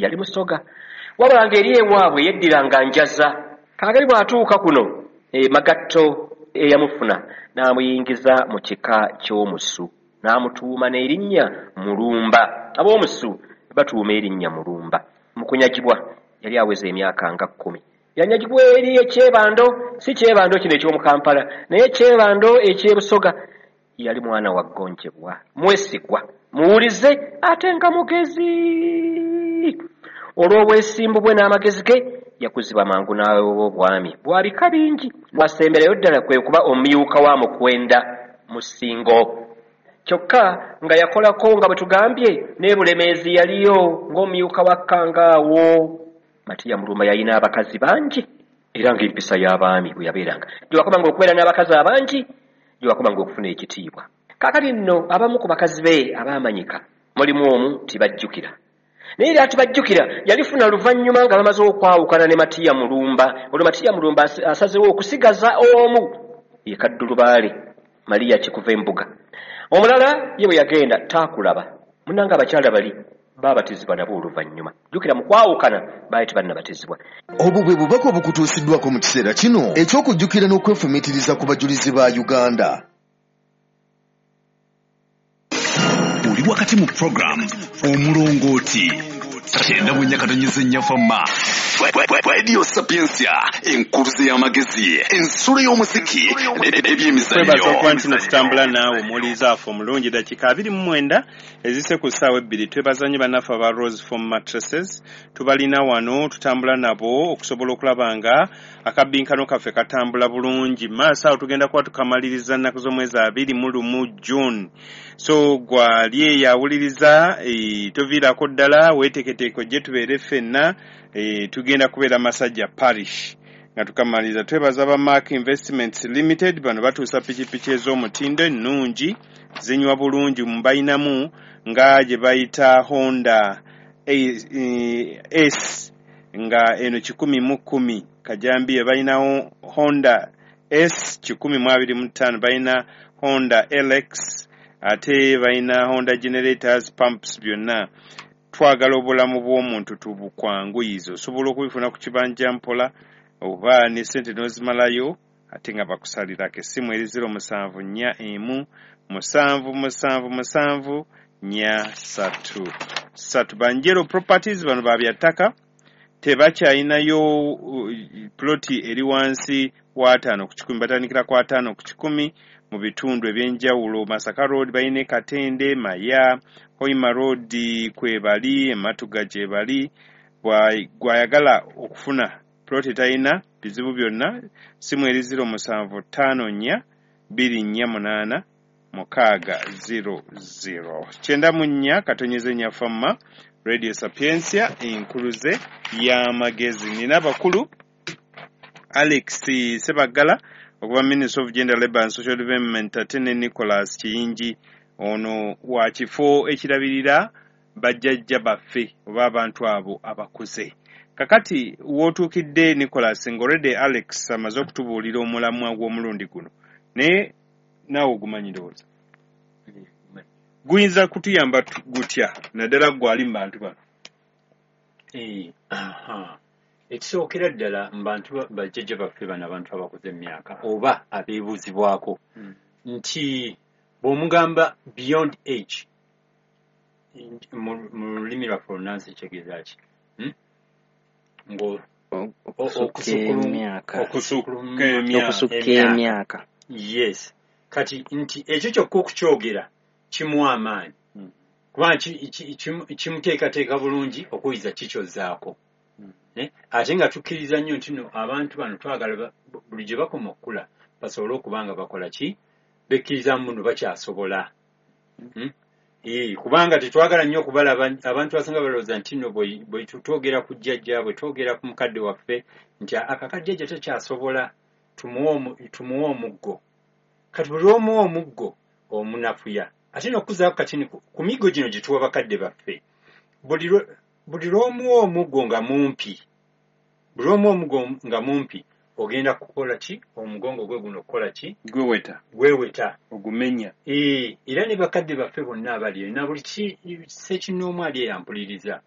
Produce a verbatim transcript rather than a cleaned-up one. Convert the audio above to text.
Yali Musoga, wabula ng'eri ewaabwe yeddiranga Njaza. Kaakati bw'atuuka kuno e Magatto, eyamufuna n'amuyingiza mu kika ky'Omusu, n'amutuuma n'erinnya Mulumba. Ab'Omusu batuuma erinnya Mulumba. Mu kunyagibwa yali aweza emyaka nga kkumi. Yanyagibwa eri Ekyebando, si Kyebando kino eky'omu Kampala, naye Ekyebando eky'Ebusoga. Yali mwana wa ggonjebwa, mwesigwa, muwulize, ate nga mugezi. Olw'obwesimbu bwe n'amagezi ge, yakuzibwa mangu n'aweebwa obwami bwa bika bingi. Bwasemberayo ddala kwe kuba omumyuka wa Mukwenda Musingo. Kyokka nga yakolako, nga bwe tugambye, n'e Bulemeezi yaliyo ng'omumyuka wa Kkangaawo. Matiya Mulumba yalina abakazi bangi, era ng'empisa y'abaami bwe yabeeranga, gye wakomanga okubeera n'abakazi abangi, gye wakomanga okufuna ekitiibwa. Kaakati nno abamu ku bakazi be abaamanyika mulimu omu Tibajjukira. Naye era Tibajjukira yalifuna luvannyuma nga bamaze okwawukana ne Matiya Mulumba. Olwo Matiya Mulumba asazewo okusigaza omu, ye Kaddulubaale Mariya Kikuva Embuga. Omulala ye bwe yagenda taakulaba. Munnange, abakyala bali baabatizibwa nabo oluvannyuma. Jjukira, mu kwawukana baali tebannabatizibwa. Obwo bwe bubaka obukutuusiddwako mu kiseera kino eky'okujjukira n'okwefumiitiriza ku bajulizi ba Uganda. Oli wakati mu program Omulongooti, kyenda mu nnya katonyeza nnya Fama Radio Sapientia, enkuluze y'amagezi, ensulo y'omuziki n'ebyemizannyo. Twebaza okuba nti tutambula naawe, omuwuliriza waffe omulungi. Dakiika abiri mu mwenda ezise ku ssaawa ebbiri. Twebaza nnyo bannaffe aba Rose Foam Mattresses. Tubalina wano, tutambula nabo okusobola okulaba nga akabbinkano kaffe katambula bulungi. Maaso awo tugenda kuba tukamaliriza nnaku z'omwezi abiri mu lumu June. So gwali eyo awuliriza, e, toviirako ddala, weeteeketeeke ojje tubeere ffenna. e, tugenda kubeera Masajja Parish nga tukamaliriza. Twebaza ba Mark Investments Limited. Bano batuusa pikipiki ez'omutindo ennungi, zinywa bulungi. Mubalinamu nga gye bayita Honda S, nga eno kikumi mu kkumi kajambiye. Balinawo Honda S kikumi mu abiri mu ttaano, balina Honda L X, ate balina Honda generators, pumps, byonna. Twagala obulamu bw'omuntu tubukwanguyize. Osobola okubifuna ku kibanja mpola oba ne sente n'ozimalayo, ate nga bakusalirako. Essimu eri zero musanvu nnya emu musanvu musanvu musanvu nnya ssatu ssatu. Banjero Properties, bano ba byattaka, tebakyalinayo uh, ploti eri wansi w'ataano ku kikumi. Batandikira ku ataano ku kikumi mu bitundu ebyenjawulo. Masaka Road balina, e Katende, Maya, Hoima Road kwebali, Ematuga gyebali. Gwayagala okufuna ploti etalina bizibu byonna, simu eri zero musanvu ttaano nnya bbiri nnya munaana mukaaga zero zero. Kyenda mu nnya katonyeze nnya Fama Radio Sapientia, enkuluze y'amagezi. Nina abakulu, Alex Sebaggala okuva Ministry of Gender, Labour and Social Development, ate ne Nicholas Kiyingi, ono wa kifo ekirabirira bajjajja baffe oba abantu abo abakuze. Kakati wootuukidde, Nicholas, ng'olredde Alex amaze okutubuulira omulamwa gw'omulundi guno, naye naawe ogumanyi, ndowooza guyinza kutuyamba gutya, naddala gwe ali mu bantu bano? Eh, ekisookera ddala, mu bantu bajjajja baffe bano, abantu abakuze emyaka oba abeebuuzibwako, hmm. nti bw'omugamba beyond age mu lulimi lwaffe olunansi kitegeeza ki? Hmm? Okusukka emyaka. Yes, kati nti ekyo kyokka okukyogera kimuwa amaanyi, hmm. kubanga kimuteekateeka bulungi okuyiza kikyozaako. hmm. Ate nga tukkiriza nnyo nti no abantu bano twagala buli gye bakoma okukula basobole okuba nga bakola ki, bekkiriza muno bakyasobola. hmm? Kubanga tetwagala nnyo okubalaba. Abantu abasinga balowooza nti nno bwe twogera ku jjajja, bwe twogera ku mukadde waffe, nti akakajjajja takyasobola, tumuwe omuggo. Kati buli lwomuwa omuggo omunafuya. Ate n'okuzaako katini ku miggo gino gye tuwa bakadde baffe, buli lw'omuwa omuggo nga mumpi, buli lw'omuwa omuggo nga mumpi, ogenda kukola ki? Omugongo gwe guno okukola ki? Gweweta. Gweweta. Ogumenya. Era ne bakadde baffe bonna abali na buli sekinnoomu ali eyampuliriza.